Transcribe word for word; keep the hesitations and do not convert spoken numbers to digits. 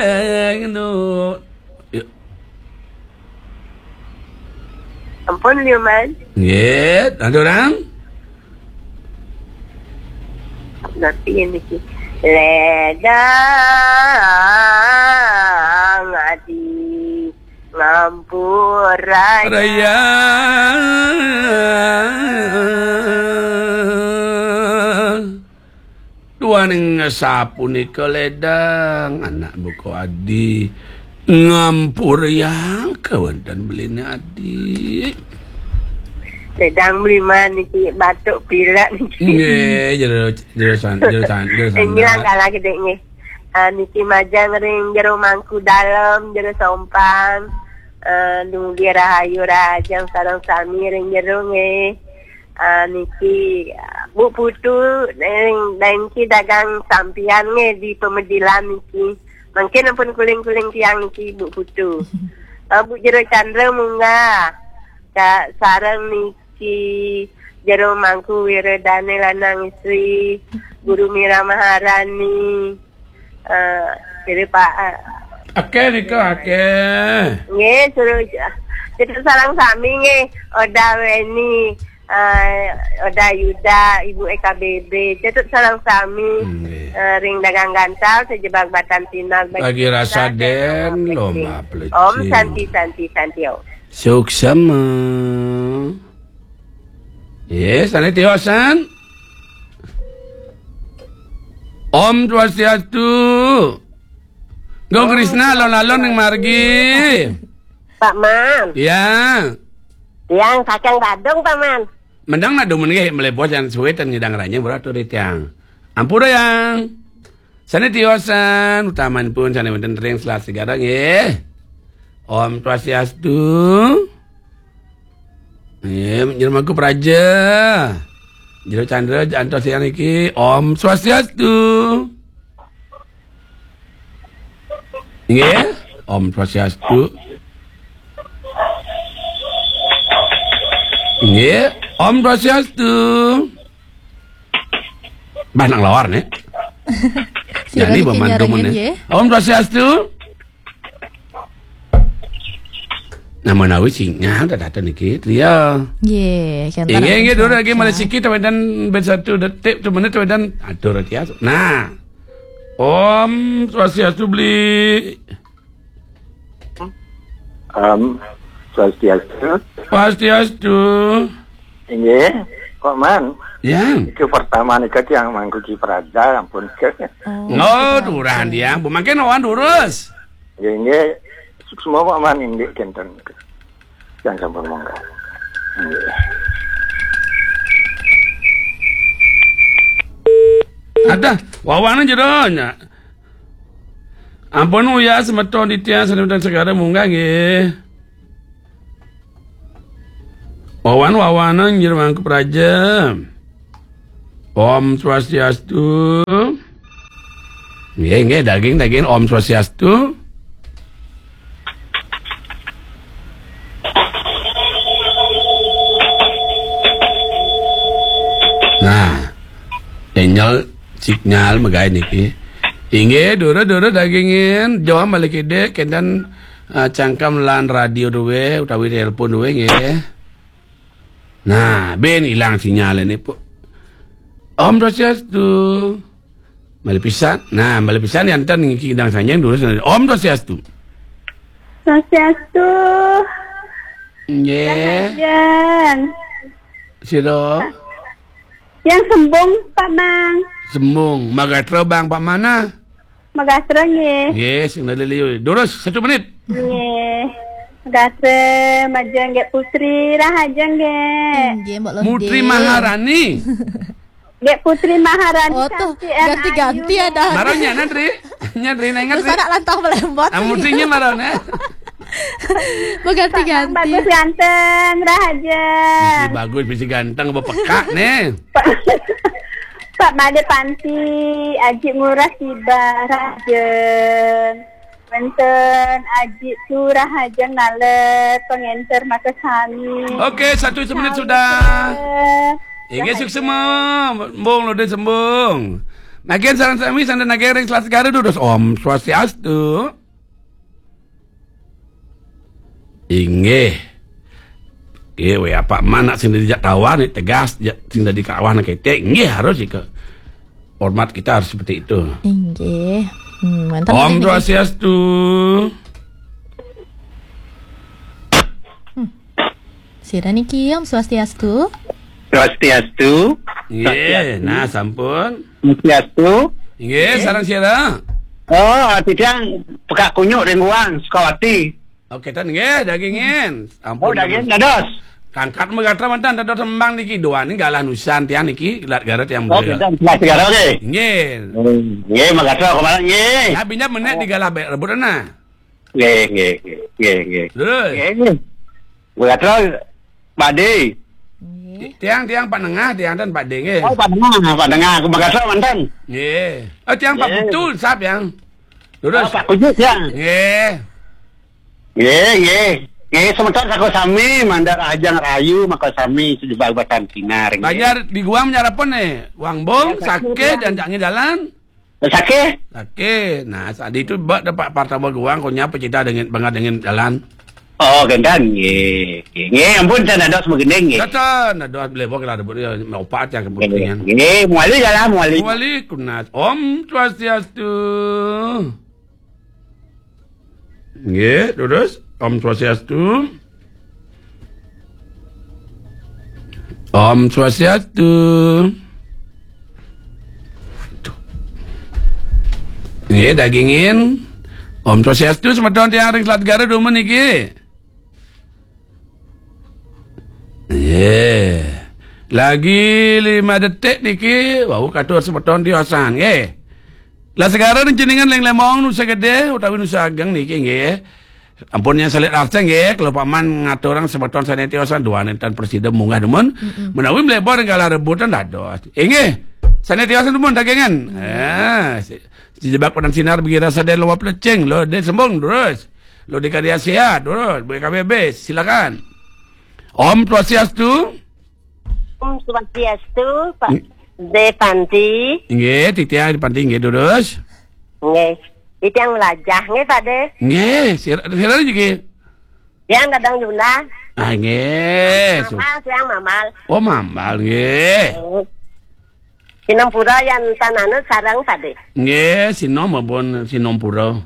Anu. Yuk. Ampun, Liuman. Nggih, ada orang? Nanti ini sih. Ledang adi ngampur raya. Raya. Duaning sapunika ledang anak buka adi ngampuriang kawonten beline adi. Ledang Bliman niki batuk pilek niki. Nggih, jero, jero san-, jero san-, jero Nggih, sandal. Langkah lagi dek nggih. Ah, niki majeng ring jero mangku dalem, jero sompang. Ah, dumugi rahayu rahajeng sareng sami ring jero nggih. Ah, niki, ah, Bu Putu, ring, niki dagang sampian nggih di Pemedilan niki. Mangkin ampun kuling-kuling tiang niki, Bu Putu. Ah, Bu Jero Chandra munggah. Ka-, sareng niki Jero Mangku Wiradane lanang istri, Guru Mira Maharani. Ah, jadi Pak, ah. Akeh nika, akeh. Nggih, suruh, jadi sareng sami nggih, Oda Weni, eh, Oda Yuda, Ibu E K B B, cetut sareng sami, nggih. Eh, ring dagang gantal, sejebak batan pinal, bagi rasa den, lomba pelecing. Om Santi, Santi, Santi, Om. Suksema. Yes, ane tiosan. Om Swastiastu. Gong Krisna, alon-alon ning margi. Pak Man. Ya. Tiang Kacang Badung, Pak Man. Mendang nak dumun nggih, melebu yang suwe ten ngidang ranyang, berat tu di tiang. Ampura yang. Sane tiosan, utamanipun sane wonten ring Selastigara nggih. Om Swastiastu. Nggih, Jero Mangku Praja. Jero Chandra, antos yang niki. Om Swastiastu. Nggih, Om Swastiastu. Nggih, Om Swastiastu. Bah, nang lawar nih. Jadi niki pemandu nyarengin, nggih. Om Swastiastu. Nah, menawi sinyal dah datang niki, trio. Nggih, nggih, nggih, dulu lagi malah sikit, tawedan ben satu detik, tu menit, tawedan atur, trio. Nah. Om Swastiastu, beli. Om Swastiastu. Swastiastu. Inggih, Pak Man. Ya. Itu pertama nika tiang mangkuki praja, ampun. Oh, oh, turah tiang. Bu mangkin awan durus. Inggih, inggih. Suksma Pak Man, inggih, kenten. Tiang sampun mangga. Inggih. Adah, wawanan jero nya. Ampun, uya semeton titiang, semeton segara munggah nggih. Wawan-wawanan Jero Mangku Praja. Om Swastiastu. Nggih, nggih, daging, daging. Om Swastiastu. Nah, sinyal, sinyal megai niki. Inggih, dura-dura dagingin, jawab balik ide, kenten, eh, cangkem lan radio duwe, utawi telepon duwe, nggih. Nah, ben ilang sinyal ini, Pu. Om Swastiastu. Malih pisan. Nah, malih pisan yanten niki kidang sanjang durus. Om Swastiastu. Swastiastu. Nggih. Rahajeng. Sira. Yang sembung, Pak Mang. Sembung. Magatra bang Pak Mana? Magatra nggih. Nggih, sing lali liu. Durus, satu menit. Nggih. Magatra, majeng nggih Putri, rahajeng nggih. Nggih, Mbok Londe. Putri Maharani. Nggih, Putri Maharani. Oh, tuh, cantik, ganti-ganti ayu. Ada. Maro nya, Tri. Nya, Tri, nah, ingat, terus Tri. Anak lantang melembot. Ah, Putri nya maro, nah. Mau ganti-ganti. Pak Mang bagus ganteng, rahaja. Bisi bagus, bisi ganteng, apa pekak, nih? Pak, Pak Made Panti, Aji Murah Siba, rahaja. Wenten Aji Turah Ajeng Naler, pengenter maka sami. Oke, satu menit sudah. Inggih, suksema. Sembung, Lode sembung. Nagih sareng sami, sandang nagih ring Selat Segara, durus. Om Swastiastu. Inggih. Nggih, wéh, apa manak sing dadi jak tawar nih, tegas, jak sing dadi kawan kété. Nggih, harus ika. Hormat kita harus seperti itu. Inggih. Hmm, mantap. Om Swastiastu. Hmm. Sira niki, Om Swastiastu. Swastiastu. Nggih, nah, sampun. Swastiastu. Nggih, sareng sira. Oh, titiang Pekak Kunyuk ring Guang, Sukawati. Oke, ten nggih, dagingin. Ampun, oh, daging dados. Kangkat magatra mantan dados tembang niki, duaning galah nusan tiang niki, Selat Segara tiang. Oh, beliau. Kita Selat Segara, oke. Nggih. Hmm, nggih, magatra kemana, nggih. Ya, binya menek digalah be-, rebut ana. Nggih, nggih, nggih, nggih, nggih. Terus? Nggih, nggih. Magatra, Pak Dé. Nggih. Tiang, tiang Pak Nengah, tiang ten Pak Dé, nggih. Oh, Pak Nengah, Pak Nengah. Magatra mantan. Nggih. Oh, tiang Pak Nggih. Putu, sap yang. Terus? Oh, Pak Kunyuk, tiang. Nggih. Nggih, nggih. Nggih, semeton saka sami, mandar ajang rayu, maka sami, sejebak batan sinar, nggih. Banjar di Guang menyarapan nih. Wang Bong, ya, sakit, sakit, dan jangan jalan. Sakit? Sakit. Nah, tadi itu bak dapat partama Guang, kau nyapa kita dengan, bangat dengan jalan. Oh, gendan, nggih. Nggih, ampun, tan dados begending, nggih. Kata, dados beli bok lah, rebut dia, opat ya, kepentingan. Nggih, muali jalan, muali. Muali, kunat. Om Swastiastu. Nggih, terus. Om Swastiastu. Om Swastiastu. Nggih, dagingin. Om Swastiastu, semeton tiang ring Selat Segara dumun niki. Nggih. Lagi lima detik niki, wau katur semeton tiosan, nggih. Lah Segara ning jenengan ring Lembong Nusa Gedé utawi Nusa Ageng niki, nggih. Ampun yang selit rasa, nggih, kalau paman ngaturang semeton sané tiosan, dua nénten presida munggah dumun. Mm-mm. Menawi mlebor ring galah rebutan dados. Inggih. Sané tiosan dumun dagingan. Ah, si, si jebak padang sinar bagi rasa dé luwap lecing, lo dé sembung terus. Lo di Karya Sehat terus, B K B B, silakan. Om Swastiastu. Om Swastiastu, Pak Dé Panti. Nggih, titiang Dé Panti, nggih, durus. Nggih. Titiang Melajah, nggih, Pak Dé. Nggih, sira, sira niki. Tiang Dadang Yunda. Ah, nggih. Mamal, tiang Mamal. Oh, Mamal, nggih. Nggih. Sinampura yan tan anut sareng, Pak Dé. Nggih, sinom maupun sinampura.